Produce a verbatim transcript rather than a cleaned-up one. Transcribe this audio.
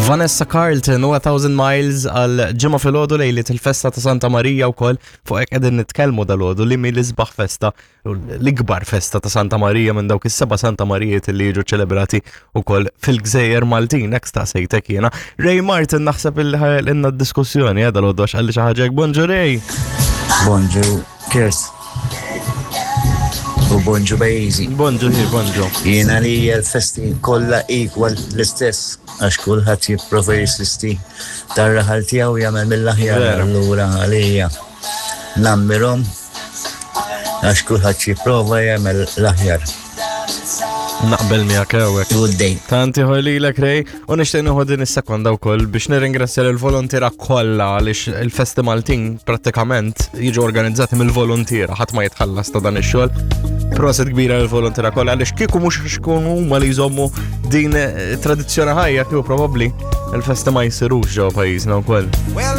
Vanessa Carlton u A Thousand Miles għal Ġimgħa filgħodu, lejliet il-festa ta' Santa Marija wkoll. Fuq hekk qegħdin nitkellmu dalgħodu, li mi l-isbaħ festa, l-ikbar festa ta' Santa Marija minn dawk is-seba' Santa Marijiet li jiġu ċelebrati wkoll fil-Gżejjer Maltin, hekk staqsejtek jiena. Ray Martin naħseb illi ħa jagħmlilna d-diskussjoni eh, dalgħodu għax qalli xi ħaġa hekk. Bonġu, Ray. Bonġu, Kirst. U bonġu, pajjiżi. Bonġu, hi, bonġu. Jiena li l-festi kollha equal, l-istess, għax kulħadd jipprova jisisti tar-raħal tiegħu jagħmel mill-aħjar. Vera. Allura għalija nammirhom għax kulħadd jipprova jagħmel l-aħjar. Naqbel miegħek hawnhekk. Good day. Tanti ħolilek, Ray, u nixtieq nieħu din is-sekonda wkoll biex nirringrazzja lill-volontiera kollha, għaliex il-festi Maltin prattikament jiġu organizzati mill-volontiera, ħadd ma jitħallas ta' dan ix-xogħol. Proset kbira lill-volontiera kollha, għaliex kieku mhux xkunu huma li jżommu din eh, tradizzjoni ħajja, kieku probabbli il-festi ma jsirux ġewwa pajjiżna wkoll.